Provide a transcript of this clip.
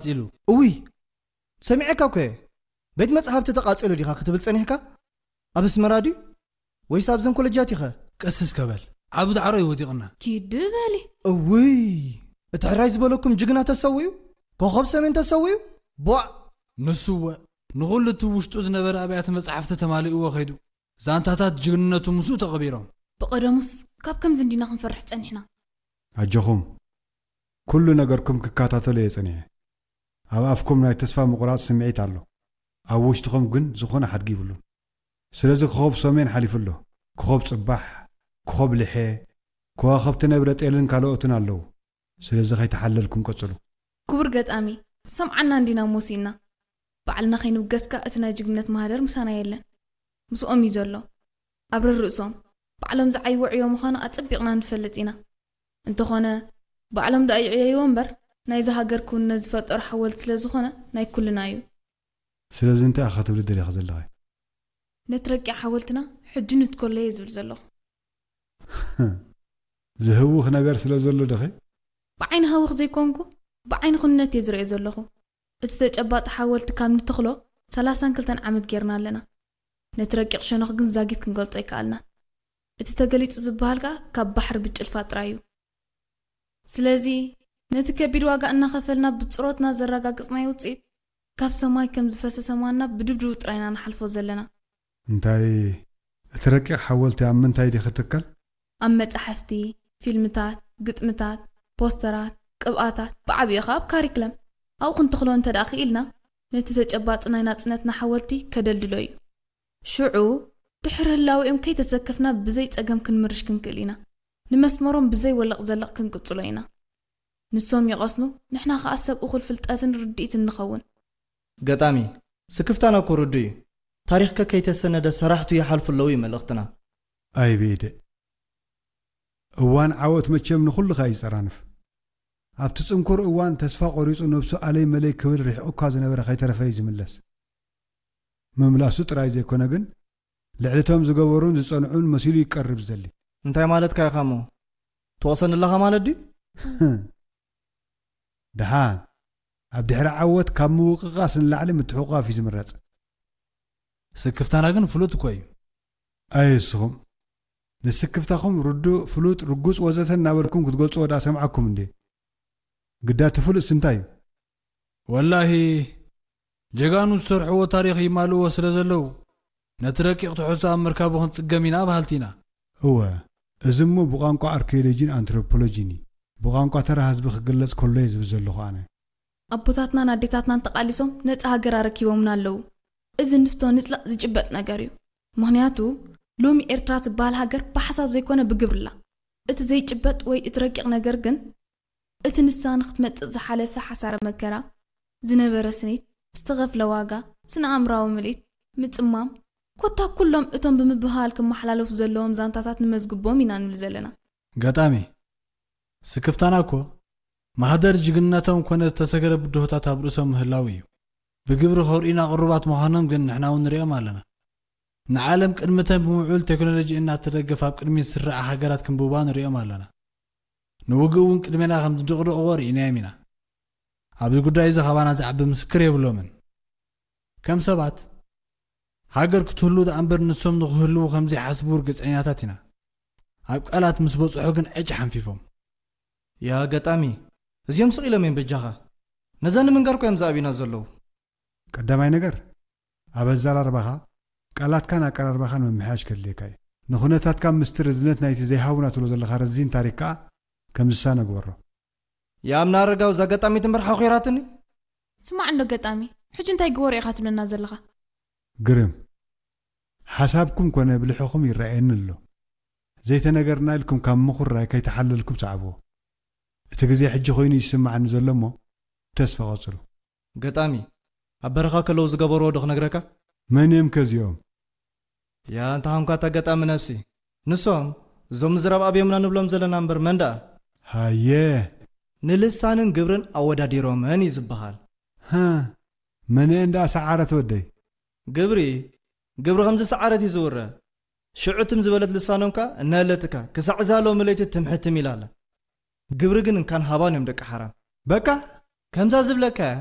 ተቓጺሉ። እውይ፣ ሰሚዐካ እኮ እየ። ቤት መጻሕፍቲ ተቓጺሉ ዲኻ ክትብል ጸኒሕካ? ኣብ ኣስመራ ድዩ? ወይስ ኣብዘን ኮለጃት ኢኸ? ቀስ እስከ በል። ዓቢ ዳዕሮ እዩ ወዲቕና። ኪድ በሊ። እውይ፣ እቲ ሕራይ ዝበለኩም ጅግና ተሰዊኡ? ኮኸብ ሰሜን ተሰዊኡ? ቧእ! ንሱ እወ፣ ንኹሉ እቲ ውሽጡ ዝነበረ ኣብያተ መጻሕፍቲ ተማሊእዎ ከይዱ። ዛንታታት ጅግንነቱ ምስኡ ተቐቢሮም። ብቐደሙስ ካብ ከምዚ እንዲና ክንፈርሕ ጸኒሕና። ኣጆኹም፣ ኩሉ ነገርኩም ክከታተሎ እየ ጸኒሐ። ኣብ ኣፍኩም ናይ ተስፋ ምቑራጽ ስምዒት ኣሎ፣ ኣብ ውሽጥኹም ግን ዝኾነ ሓድጊ ይብሉን። ስለዚ ኮኸብ ሰሜን ሓሊፉ ኣሎ። ኮኸብ ጽባሕ፣ ኮኸብ ልሐ፣ ከዋኸብቲ ነብረ ጤልን ካልኦትን ኣለዉ። ስለዚ ከይተሓለልኩም ቀጽሉ። ክቡር ገጣሚ፣ ሰምዓና እንዲና ሞሲና። ባዕልና ከይንብገስካ እቲ ናይ ጅግነት ማህደር ምሳና የለን። ምስኦም እዩ ዘሎ። ኣብ ርርእሶም ባዕሎም ዝዓይዎ ዕዮ ምዃኑ ኣጸቢቕና ንፈልጥ ኢና። እንተኾነ፣ ባዕሎም ደኣ ይዕየይዎ እምበር፣ ናይዛ ሃገር ክውንነት ዝፈጠሩ ሓወልቲ ስለ ዝኾነ፣ ናይ ኩልና እዩ። ስለዚ እንታይ ኢኻ ክትብሊ ደሊኻ ዘለኺ? ነቲ ረቂቕ ሓወልትና ሕጂ ንትከሎ እየ ዝብል ዘለኹ። ዝህውኽ ነገር ስለ ዘሎ ዶኸ? ብዓይኒ ሃውኽ ዘይኮንኩ፣ ብዓይኒ ኩንነት እየ ዝርእዮ ዘለኹ። እቲ ተጨባጢ ሓወልቲ ካብ ንተኽሎ ሰላሳን ክልተን ዓመት ጌርና ኣለና። ነቲ ረቂቕ ሸነኹ ግን ዛጊት ክንገልጾ ኣይከኣልናን። እቲ ተገሊጹ ዝበሃል ከኣ ካብ ባሕሪ ብጭልፋ ጥራይ እዩ። ስለዚ፣ ነቲ ከቢድ ዋጋ እናኸፈልና ብጽሮትና ዘረጋገጽናዮ ውጽኢት፣ ካብ ሰማይ ከም ዝፈሰሰ ማና ብድብድቡ ጥራይ ኢና ንሓልፎ ዘለና። እንታይ፣ እቲ ረቂቕ ሓወልቲ ኣብ ምንታይ ድዩ ክትከል? ኣብ መጻሕፍቲ፣ ፊልምታት፣ ግጥምታት፣ ፖስተራት፣ ቅብኣታት፣ ብዓቢኡ ኸኣ ኣብ ካሪክለም። ኣብኡ ክንተኽሎ እንተ ደኣ ክኢልና፣ ነቲ ተጨባጢ ናይ ናጽነትና ሓወልቲ ከደልድሎ እዩ። ሽዑ፣ ድሕሪ ህላዌኦም ከይተሰከፍና ብዘይ ጸገም ክንምርሽ ክንክእል ኢና። ንመስመሮም ብዘይ ወለቕ ዘለቕ ክንቅጽሎ ኢና። ንሶም ይቐስኑ፣ ንሕና ኸኣ ሰብ እኹል ፍልጠትን ርድኢትን ንኸውን። ገጣሚ፣ ስክፍታና እኮ ርዱእ እዩ። ታሪኽከ ከይተሰነደ ሰራሕቱ ይሓልፉ ኣለዉ እዩ መልእኽትና። ኣይ ብኢደ። እዋን ዓወት መቸም ንኹሉ ከኣ ይጸራንፍ። ኣብቲ ጽንኩር እዋን ተስፋ ቆሪጹ ነብሱ ኣለይ መለይ ክብል ሪሕቑ እኳ ዝነበረ ከይተረፈ እዩ ዝምለስ። ምምላሱ ጥራይ ዘይኮነ ግን፣ ልዕሊ እቶም ዝገበሩን ዝጸንዑን መሲሉ ይቀርብ ዝደሊ። እንታይ ማለትካ ኢኻ እሞ? ትወቕሰኒ ኣለኻ ማለት ድዩ? ደሓን፣ ኣብ ድሕሪ ዓወት ካብ ምውቕቓስ ንላዕሊ ምትሕቑቓፍ እዩ ዝምረጽ። ስክፍታና ግን ፍሉጥ እኮ እዩ። ኣየ እስኹም፣ ንስክፍታኹም ርዱእ፣ ፍሉጥ፣ ርጉጽ ወዘተ እናበልኩም ክትገልጽዎ ደኣ ሰምዓኩም እንዴ? ግዳ እቲ ፍሉጥስ እንታይ እዩ? ወላሂ፣ ጀጋኑ ዝሰርሕዎ ታሪኽ ይማልእዎ ስለ ዘለዉ፣ ነቲ ረቂቕ ትሕዝቶ ኣብ ምርካቡ ክንጽገም ኢና በሃልቲ ኢና። እወ፣ እዚ እሞ ብቋንቋ ኣርኪዮሎጂን ኣንትሮፖሎጂን እዩ። ብቋንቋ ተራ ህዝቢ ክግለጽ ከሎ እየ ዝብል ዘለኹ ኣነ። ኣቦታትናን ኣዴታትናን ተቓሊሶም ነጻ ሃገር ኣረኪቦምና ኣለዉ። እዚ ንፍቶ ንጽላእ ዝጭበጥ ነገር እዩ። ምኽንያቱ፣ ሎሚ ኤርትራ ትበሃል ሃገር ብሓሳብ ዘይኮነ ብግብሪ ኣላ። እቲ ዘይጭበጥ ወይ እቲ ረቂቕ ነገር ግን፣ እቲ ንሳ ንክትመጽእ ዝሓለፈ ሓሳረ መከራ፣ ዝነበረ ስኒት፣ ዝተኸፍለ ዋጋ፣ ስነ ኣእምራዊ ምልኢት፣ ምጽማም፣ ኮታ ኩሎም እቶም ብምብህሃል ክመሓላለፉ ዘለዎም ዛንታታት ንመዝግቦም ኢና ንብል ዘለና። ገጣሚ፣ ስክፍታና እኮ ማህደር ጅግንነቶም ኮነ ዝተሰገረ ብድሆታት ኣብ ርእሶም ምህላው እዩ። ብግብሪ ከርእዩና ቅሩባት ምዃኖም ግን ንሕና እውን ንሪኦም ኣለና። ንዓለም ቅድምተን ብምዕቡል ቴክኖሎጂ እናተደገፋ ኣብ ቅድሚት ዝስርዓ ሃገራት ክንብባ ንሪኦም ኣለና። ንውግእ እውን ቅድሜና ከም ዝድቕድቕዎ ርኢናዮም ኢና። ኣብዚ ጉዳይ እዚ ካባና ዝዓቢ ምስክር የብሎምን። ከም ሰባት፣ ሃገር ክትህሉ ደኣ እምበር ንሶም ንኽህልዉ ከም ዘይሓስቡ ርግጸኛታት ኢና። ኣብ ቃላት ምስ በጽሑ ግን ዕጭ ሓንፊፎም። ያ ገጣሚ፣ እዚኦም ስቕ ኢሎም እዮም በጃኻ። ነዛ ንምንጋር እኮ እዮም ዝኣብዩና ዘለዉ። ቀዳማይ ነገር፣ ኣብ ኣዘራርባኻ፣ ቃላትካን ኣቀራርባኻን ምምሕያሽ ከድልየካ እዩ። ንኹነታትካ ምስቲ ርዝነት ናይቲ ዘይሃቡና ትብሎ ዘለኻ ረዚን ታሪኽ ከኣ ከም ዝሳነ ግበሮ። የኣምና ኣረጋዊ፣ እዛ ገጣሚት እምበር ሓኾይራትኒ። ስማዕ እንዶ ገጣሚ፣ ሕጂ እንታይ ግበሩ ኢኻ ትብለና ዘለኻ? ግርም። ሓሳብኩም ኮነ ብልሕኹም ይረኣየኒ ኣሎ። ዘይተነገርና ኢልኩም ካብ ምኹራይ ከይተሓለልኩም ሰዓብዎ። እቲ ግዜ ሕጂ ኮይኑ ይስምዓኒ ዘሎ እሞ ተስፋ ቀጽሉ። ገጣሚ፣ ኣብ በረኻ ከለዉ ዝገበርዎ ዶ ክነግረካ? መን እዮም ከ እዚኦም? ያ እንተ ኾንኳ እታ ገጣሚ ነብሲ። ንሶም፣ እዞም ምዝራብ ኣብዮምና ንብሎም ዘለና እምበር መን ደኣ? ሃየ። ንልሳንን ግብርን ኣወዳዲሮመን እዩ ዝበሃል። ሃ፣ መነኤን ደኣ ሰዓረት ወደይ? ግብሪ፣ ግብሪ ከም ዝሰዓረት እዩ ዝውረ። ሽዑ ትም ዝበለት ልሳኖም ከኣ እናለትካ፣ ክሳዕ እዛ ሎሚ ለይቲ ትም ሕትም ኢላ ኣላ። ግብሪ ግን እንካን ሃባን እዮም ደቂ ሓራም። በቃ? ከምዛ ዝብለካ እያ።